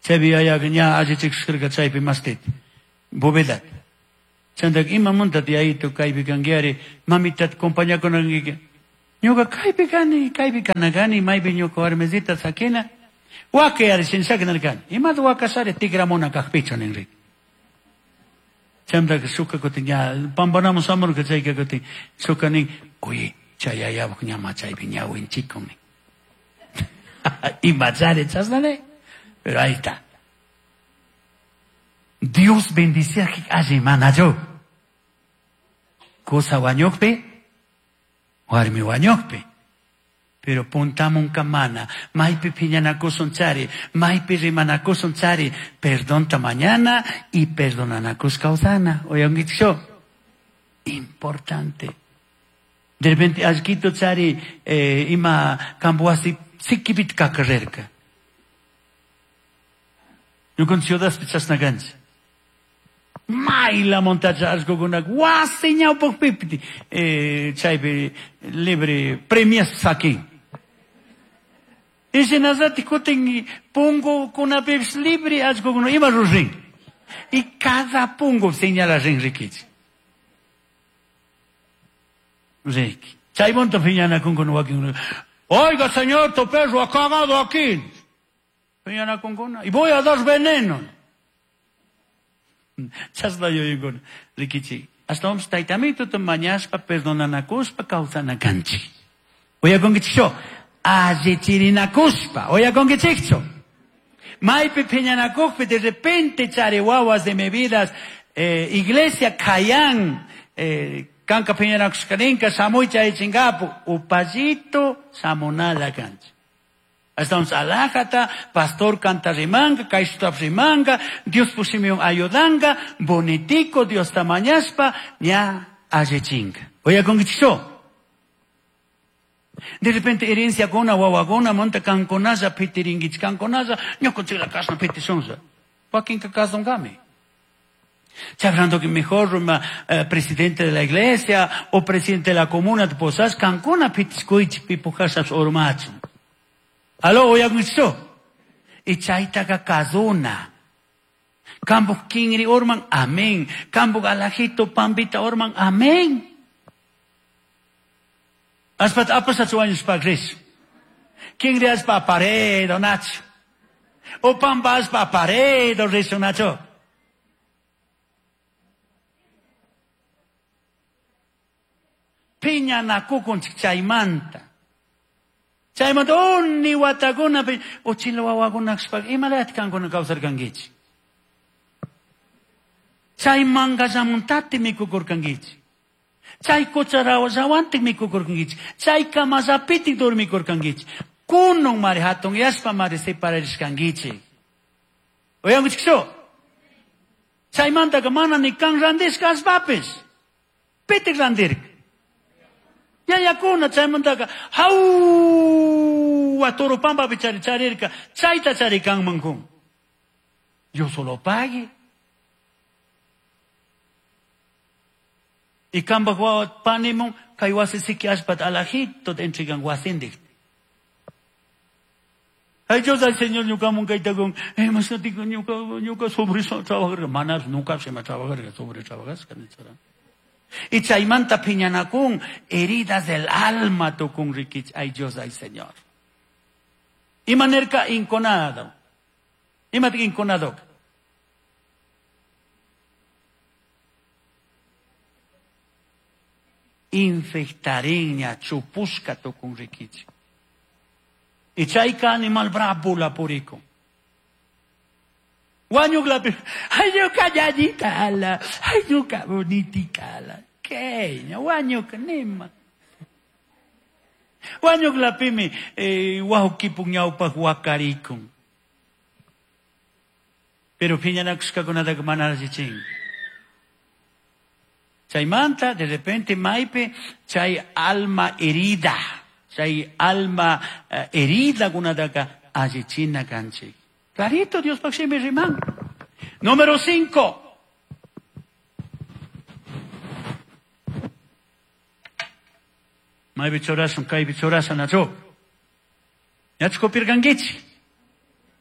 Chaypi yayaqa ña allichikushkarka chaypi mastit, bovedat. Chantak imamuntat yayito kaypi kankiari, mamitat compañakunankiki. Ñuka kaypi kani, kaypi kanakani, maypi ñuka warmisita sakina. Wakayari shinshaka nirkani. Imata wakashari tikramuna kajpichu ninri. Chaymantaka shuka kutin ña pampanamun shamurka chayka kutin shuka nin, oye, chay yayabuk ña machaypi ñawinchikun nin. Imachari chashna nin. Pero ahí está. Dios bendiciaje alli manachu. Kusa wañukpi, warmi wañukpi. Pero puntamun kamana, maypi piñanakusun chari, maypi rimanakusun chari, perdonta mañana y perdonanakus kawsana. Oyangichik Importante. De repente, allquito chari, ima kambuasi sikipit kakarerka. Ñukan ciudadpi chashna kanchik. Mayla montacha allqukunak wasi ñawpaqpipiti, chaypi libre premias sakin. Y shinallati kutin pungukunapipis libre allqukuna ima rurin. Y cada pungu señala rin rikichik. Riki. Chaymanta piñanakunkuna wakinkuna. Oiga, señor, tu perro ha cagado aquí. Piñanakunkuna. Y voy a dar veneno. Chashna yuyaykuna. Rikichik. Ashtawanpis taytamituta mañashpa perdonanakuspa kawsanakanchik. Uyakunkichikchu? Allichirinakuspa. Uyakunkichikchu? Maypi piñanakukpi de repente chari wawas de mi vidas, iglesia kayan, kanka piñanakushkarinka shamuy chaychinkapu, upallito shamunala kanchik. Ashtawanpis alajata, pastor kanta rimanka, kayshutap rimanka, Dios pushimiwan ayudanka, bonitico Dios tamañashpa, ña allichinka. Uyakunkichikchu? De repente herencia kuna wawakuna monta kankunalla pitirinkichik, kankunalla ñukanchikla kashna pitishunlla. Wakinka kasunkami. Chabrando que mejor ruma, presidente de la iglesia o presidente de la comuna de Posas, kankuna pitishkuychik pipujashas urmachun. Aló, uyakunkichikchu? Y chaytaka kasuna. Kambuj kinri urman, amén. Kambuj alajito pampita urman, amén. Aspat apasat wañushpa rish. Kinri aspa paredo nacho. O pampa aspa paredo rishu nacho. Piña nakukunchik chaymanta. Chaymanta uni watakuna pi, uchila wawakunakshpa imalayat kankuna kawsarkankichik. Chay mangallamuntati mikukurkankichik. Chay kucharawallawantik mikukurkankichik. Chay kamallapitik dormikurkankichik. Kunun mari hatun yashpa mari separarishkankichik. Uyankichikchu? Chaymantaka mana ni kan randishka ashpapis. Pitik randirka. Yayakuna chaymantaka hawwa Toropampapi chari charirka. Chayta charikanman kun. Yo solo pague. Y kambaj wawa panimun kay wasi siki ashpat alajito entregan wasindik. Ay, Dios, ay, Señor, ñuka mun kayta kun, masnatico, ñuka, ñuka sobre trabajar, manas, nunca se me trabajar, sobre trabajar, canichara. Y chaymanta piñanakun, heridas del alma tukun rikich, ay Dios, ay Señor. Y manerka inconado. Y mat inconado. Infectariña, chupusca tukun rikich. Y chayka animal bravo la purico. Wañuklapi, ay ñuka ñañita ala, ay ñuka bonitica ala. ¿Qué? Wañuka nima. Wañuklapimi, wawkipun ñawpaq wakarikun. Pero piñanakushkakunataka mana allichin. Chaymanta, de repente, maypi, chay alma herida, chay alma herida kunataka allichina kanchik. Clarito, Dios pakshimi riman. Número 5. Maypi churasun, kaypi churasun, nacho. Ñachu kopirkankichik.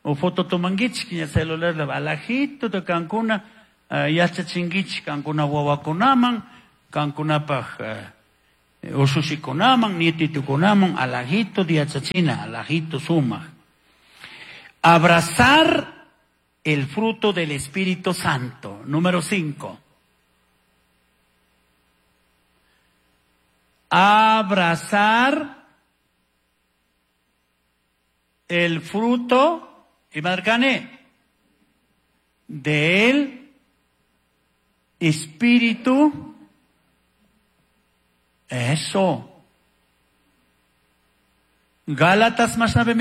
O foto tomankichik, ña celular la alajito de kankuna, yachachinkichik, kankuna wawakunaman, kankunapaj, usushikunaman, nietitukunaman, alajito de yachachina, alajito sumaj. Abrazar el fruto del Espíritu Santo. Número 5. Abrazar el fruto, y marcane, del Espíritu. Eso. Gálatas más a ver.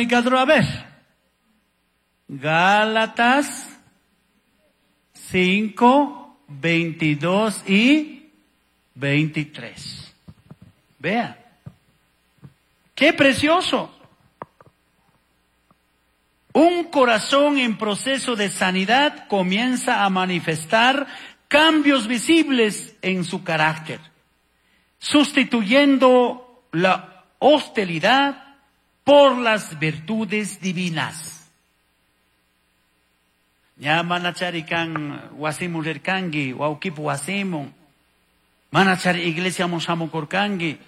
Gálatas 5, 22 y 23. Vea. ¡Qué precioso! Un corazón en proceso de sanidad comienza a manifestar cambios visibles en su carácter, sustituyendo la hostilidad por las virtudes divinas. Ña manachari kan wasimun rirkanki, wawkipu wasimun. Manachari iglesiamun shamukurkanki.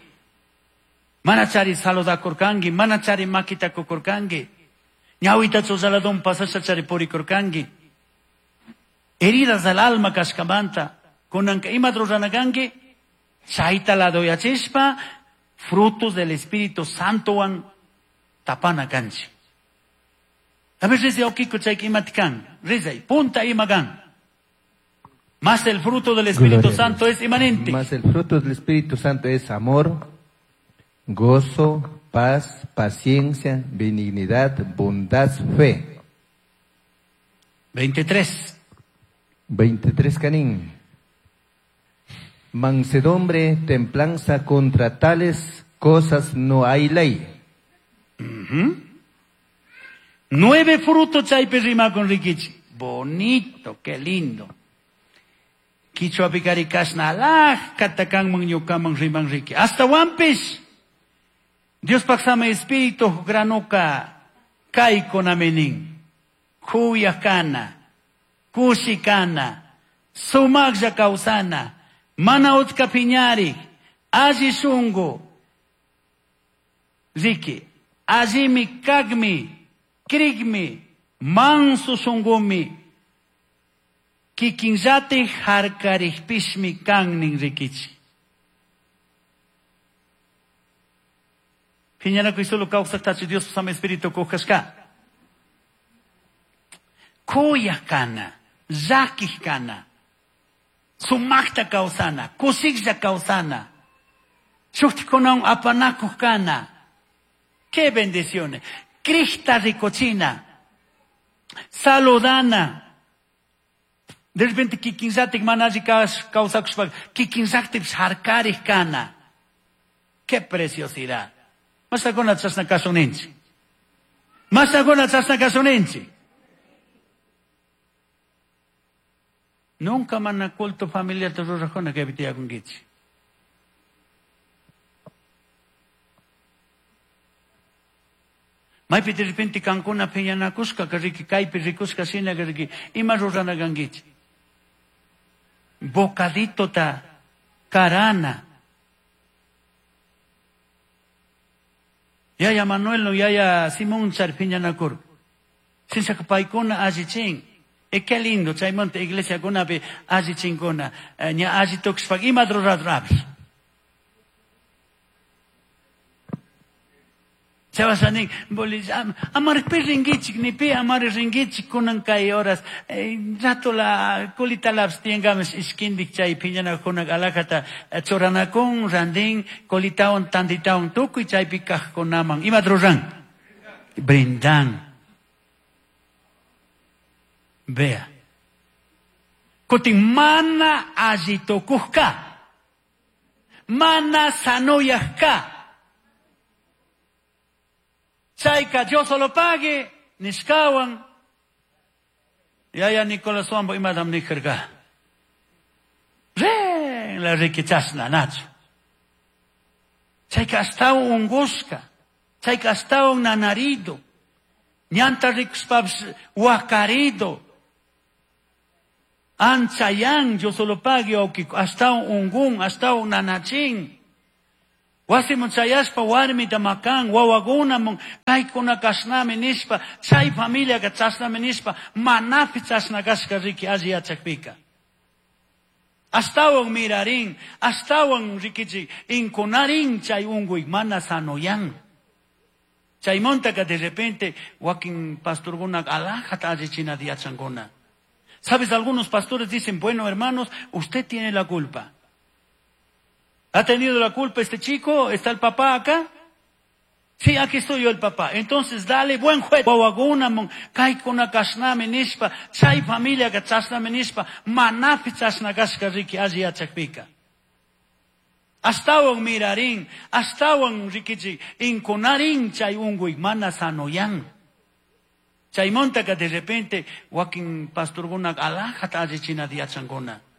Manachari saludakurkanki, manachari makita kukurkanki. Ñawita chuzaladun pasashachari purikurkanki. Heridas del alma kashkamanta, kunanka ima ruranakanki, chayta ladoyachishpa, frutos del Espíritu Santowan tapana kanchik. A ver, rizay okiko chayka imati kan, rizay, punta ima kan. Más el fruto del Espíritu Gloria a Dios. Santo es inmanente. Más el fruto del Espíritu Santo es amor, gozo, paz, paciencia, benignidad, bondad, fe. 23. 23 Canín. Mansedumbre, templanza, contra tales cosas no hay ley. 9 frutos chaypi rimakun rikichi. Bonito, qué lindo. Quichua pikari kashna alajkata kanman ñukaman riman riki. Hasta wampis. Dios paksama espíritu granuka kaykunaminin. Kuyakana, kushikana, sumaklla kawsana, mana utka piñari, alli shungu. Riki, allimi kagmi, krigmi, manso shungumi, kikinllati harkarikpishmi kannin rikichi. Piñanakuy solo kawsaktachu Dios sama espíritu kuhkashka. Kuyakana, llakikana, sumakta kawsana, kushiklla kawsana, shuktikunawan apanakuq kana. ¡Qué bendiciones! Crista ricochina, saludana. De repente kikinllatik mana alli kawsakushpa, kikinllatik harkarik kana. ¡Qué preciosidad! Masakuna chashna kasuninchik. Masakuna chashna kasuninchik. Nunca mana culto familiar te rurajuna que tiyakunkichik. Maypi de repente kankuna piñanakushka, que riki kaypi rikushka shina, que riki ima rurana kankichik. Bocadito ta karana. Yaya Manuel no yaya Simón char piñanakur. Sinchaka paykuna allichin. E qué lindo, chaymanta iglesia kunapi allichinkuna. Ña allitukushpa ima ruradrapis. Chawasanin, bolis, amar pi ringichik, ni pi amar ringichik kunan kay horas. Rato la colita laps tiengames iskindik chay piñanakunak alajata choranakun, randin, colitaon, tanditaon, tukuy chay pikajkunaman. Ima ruran? Brindan. Vea. Kutin mana allitukushka. Mana sanoyashka. Chayka, Dios solo pague, nishkawan. Yaya Nicolás Wambo imadam nijerga. Re, la riquichasna, nacho. Chayka hasta un guska. Chayka hasta un nanarido. Ñanta rikuspabs wakarido. Anchayan, yo solo pague, hasta un gun, hasta un nanachín. Wasimun chayashpa warmita makan, wawakunamun, kaykuna kashnami nishpa, chay familiaka chashnami nishpa, manapi chashna kashka riki alli yachakpika. Ashtawan mirarin, ashtawan rikichik, inkunarin chay unkuy mana sanoyan. Chaymontaka de repente wakin pastorkuna alajata allichinata yachankuna. ¿Sabes? Algunos pastores dicen, bueno, hermanos, usted tiene la culpa. ¿Ha tenido la culpa este chico? ¿Está el papá acá? Sí, aquí estoy yo el papá. Entonces, dale buen juez. Wawakunamun, kaykuna kashnami nishpa, chay familiaka chashnami nishpa, manapi chashna kashka riki alli yachakpika. Ashtawan mirarin, ashtawan rikichik, inkunarin chay unkuy mana sanoyan. Chaymontaka de repente wakin pastorkuna alajata allichinata yachankuna.